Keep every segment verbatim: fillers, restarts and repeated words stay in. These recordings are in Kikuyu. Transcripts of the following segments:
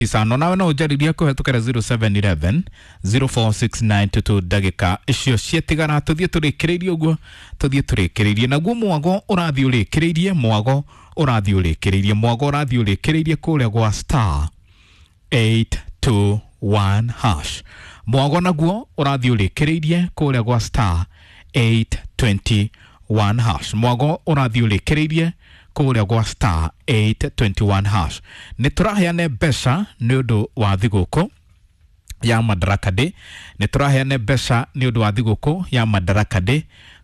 Isano nawe no ũnjarĩrie kũhetũkĩra zero seven one one zero four six nine two two. Ndagĩka icio ciatigara tũthiĩ tũrĩkĩrĩirie ũguo, tũthiĩ tũrĩkĩrĩirie naguo. Mwago ũrathiĩ ũrĩkĩrĩirie, mwago ũrathiĩ ũrĩkĩrĩirie, mwago ũrathiĩ ũrĩkĩrĩirie kũrĩa gwa star eight two one hash. Mwago naguo ũrathiĩ ũrĩkĩrĩirie kũrĩa gwa star eight two one hash. Mwago ũrathiĩ ũrĩkĩrĩirie kũrĩa gwa star eight two one hash. Nĩ tũraheane mbeca nĩ ũndũ wa thigũkũ ya Madaraka Day. Nĩ tũraheane mbeca nĩ ũndũ wa thigũkũ ya Madaraka Day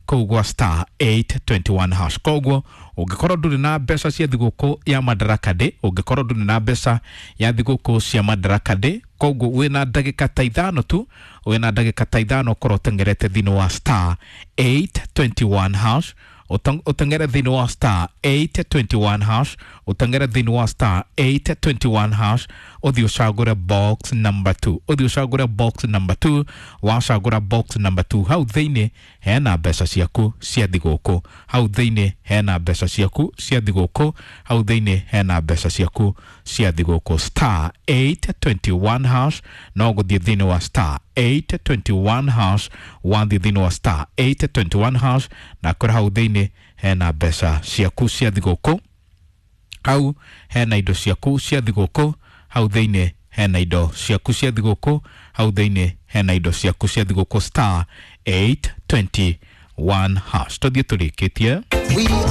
kũu gwa star eight two one hash. Koguo ũngĩkorwo ndũrĩ na mbeca cia thigũkũ ya Madaraka Day, ũngĩkorwo ndũrĩ na mbeca ya thigũkũ cia Madaraka Day, koguo wĩna ndagĩka ta ithano tu, wĩna ndagĩka ta ithano ũkorwo ũteng'erete thĩinĩ wa star eight two one hash, ũteng'ere thĩinĩ wa star eight two one hash, ũteng'ere thĩinĩ wa star eight two one hash, ũthiĩ ũcagũre box number two, ũthiĩ ũcagũre box number two. Wacagũra box number two, hau thĩinĩ hena mbeca ciaku cia thigũkũ, hau thĩinĩ hena mbeca ciaku cia thigũkũ, hau thĩinĩ hena mbeca ciaku cia thigũkũ. Star eight two one hash, no gũthiĩ thĩinĩ wa star eight two one hash. Wathiĩ thĩinĩ wa star eight two one hash na kũrĩ hau thĩinĩ hena mbeca ciaku cia thigũkũ, hau hena indo ciaku cia thigũkũ, hau thĩinĩ hena indo ciaku cia thigũkũ, hau thĩinĩ hena indo ciaku cia thigũkũ. Star eight two one hash. Tũthiĩ tũrĩkĩtie. We are